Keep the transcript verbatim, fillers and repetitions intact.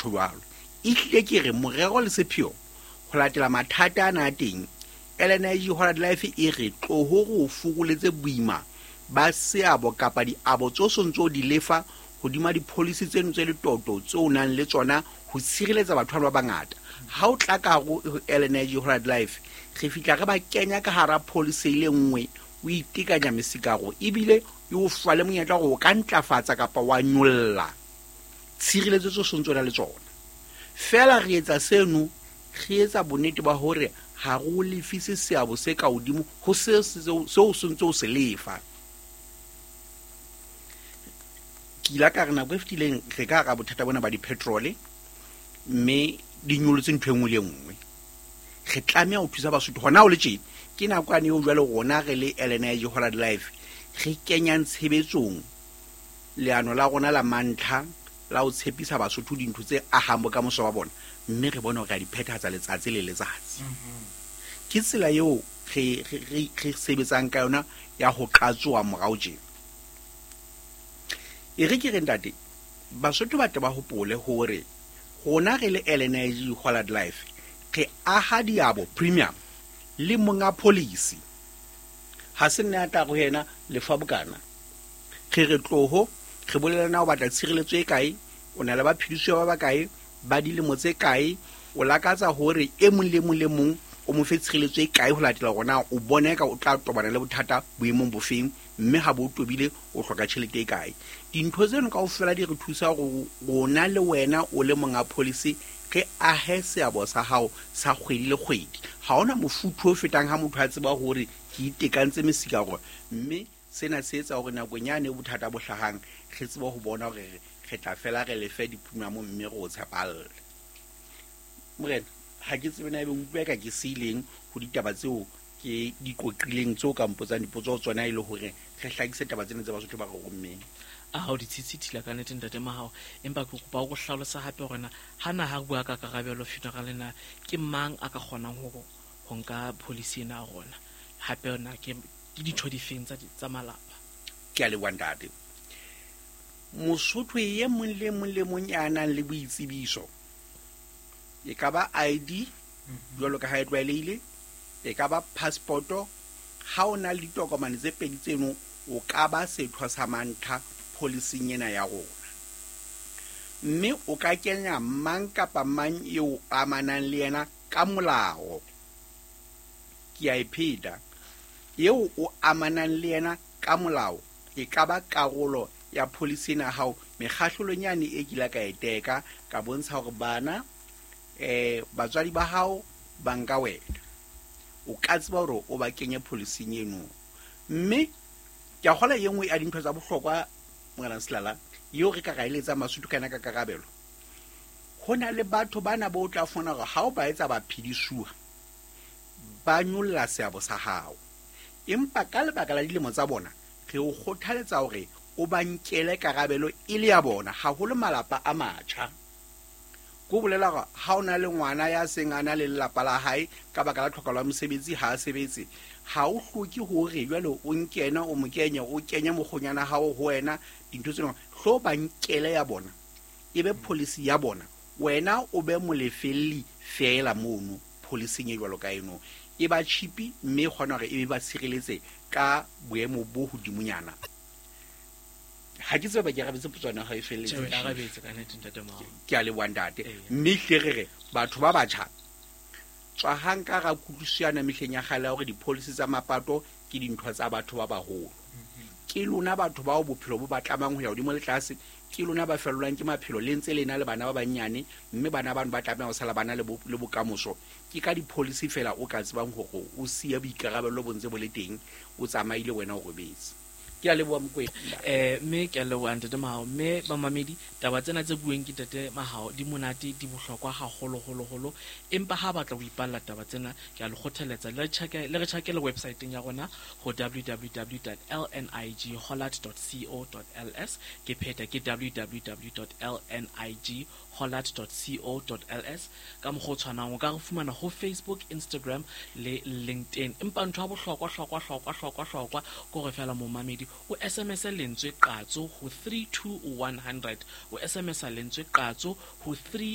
Jwalo ehlile ke re morero le sepheo ho latela mathata ana a teng, L N I G Hollard Life e re tloho re o fokoletse boima ba seabo kapa diabo tso sontso di lefa hodima di-policy tseno tse letoto tseo o nang le tsona ho tshireletsa batho ba bangata. Ha o tla ka hare ho L N I G Hollard Life, re fihla re ba kenya ka hara policy e le nngwe, o itekanya mesikaro, ebile e o fa le monyetla hore o ka ntlafatsa kapa wa nyolla tshireletso tse sontso na le tsona. Feela re etsa seno, re etsa bonnete ba hore ha re o lefise seabo se ka hodimo ho seo seo sentse o se lefa. Ke ile ka re nako e fetileng re ka hara bothata bona ba di-petrol, mme di nyolotse ntho e nngwe le e nngwe. Re tlameha ho thusa Basotho hona ho le tjena. Ke nako yane eo jwale rona re le L N I G Hollard Life re kenyang tshebetsong leano la rona la mantlha la ho tshepisa Basotho dintho tse ahang bokamoso ba bona, mme re bone hore re a di phethahatsa letsatsi le letsatsi. Ke tsela eo re re re sebetsang ka yona ya ho qatsoha morao tjena. E re ke re, ntate, Basotho ba tle ba hopole hore rona re le L N I G Hollard Life re aha diabo premium le monga policy. Ha se nne a tla go yena lefa bokana. Re re tloho re bolela na o batla tshireletso e kae, o na le baphedisuwa ba bakae, ba dilemo tse kae, o lakatsa hore e mong le mong le mong o mo fe tshireletso e kae ho latela hore na o bona eka o tla tobana le bothata boemong bofeng, mme ha bo tobile o hloka tjhelete e kae. Dintho tseno kaofela di re thusa hore rona le wena o le monga policy re ahe seabo sa hao sa kgwedi le kgwedi. Ha hona mofuthu o fetang ha motho a tseba hore ke itekantse mesikaro, mme sena se etsa hore nakong yane bothata bo hlahang re tsebe ho bona hore re tla fela re lefe di-premium, mme re o tshepalle. Morena, ha ke tsebe na ebe utlwa ka ke seileng ho ditaba tseo ke di qoqileng tseo ka mpotsang dipotso ho tsona, e le hore re hlakise taba tsena tse Basotho ba re rommeng. A o ditshitshithila ka nnete, ntate Mahao, empa ke kopa o go hlalosa hape hore na ha na ha bua ka Karabelo Funeral na ke mang a ka kgonang ho ho nka policy ena ya rona, hape na ke ke ditho difeng tsa tsa malapa? Ke a leboha, ntate. Mosotho e mong le mong le mong ya nang le boitsebiso, e ka ba I D jwalo ka ha e tlwaelehile, e ka ba passport-o, ha o na le ditokomane tse pedi tseno, o ka ba setho sa mantlha policing ena ya rona, mme o ka kenya mang kapa mang eo amanang le yena ka molao. Ke a e pheta: eo o amanang le yena ka molao e ka ba karolo ya policy ena ya hao. Mekgahlelong yane e kile ka e teka, ka bontsha hore bana, eh batswadi ba hao ba nka wena, o ka tseba hore o ba kenye policing eno. Mme ke a kgola e nngwe ya dintho tsa bohlokwa, Morena Selala, eo re ka ra eletsang Basotho ka yona ka karabelo, ho na le batho bana bo tla fumana hore ha o ba etsa baphedisuwa ba nyolla seabo sa hao, empa ka lebaka la dilemo tsa bona re o kgothaletsa hore o ba nkele karabelo e le ya bona, haholo malapa a matjha. Ko bolela hore ha o na le ngwana ya seng a na le lelapa la hae, ka baka la tlhokalo ya mosebetsi ha a sebetse, ha o hloke hore jwale o nkena o mo kenye, o kenye mokgonyana hao ho wena. Dintho tseno hlo ba nkele ya bona, e be policy ya bona, wena o be molefelli feela mono policing e jwalo ka eno. E ba cheap, mme e kgona hore e be ba tshireletse ka boemo bo hodimonyana. Ha ke tsebe ba ke arabetse potso ya hao e felletse. Tjhe, o arabetse ka nnete, ntate Mahao. Ke a leboha, ntate. Eya. Mme hle re re batho ba batjha tswahang ka ra kutlwisiso yana mehleng ya kgale ya hore di-policy tsa mapato ke dintho tsa batho ba baholo. Ke lona batho bao bophelo bo ba tlamang ho ya hodimo le tlase, ke lona ba fellwang ke maphelo le ntse le na le bana ba banyane, mme bana bano ba tlameha ho sala bana le bo- le bokamoso. Ke ka di-policy fela o ka tsebang hore o siya boikarabello bo ntse bo le teng, o tsamaile, wena o robetse. Ke a leboha, Mokwena. eh mme ke a leboha, ntate Mahao. Mme bamamedi, taba tsena tse bueng ke ntate Mahao di monate, di bohlokwa haholo holo holo, empa ha batla ho ipalla taba tsena, ke a le kgothaletsa le re tjhake- le re tjhakele websiteng ya rona ho W W W dot L N I G hollard dot co dot L S. Ke pheta, ke W W W dot L N I G hollard dot co dot L S. Ka mokgwa o tshwanang o ka re fumana ho Facebook, Instagram le LinkedIn. Empa ntho ya bohlokwa hlokwa hlokwa hlokwa hlokwa ke hore fela momamedi o S M S lentswe qatso ho three two one hundred. O S M S lentswe qatso ho three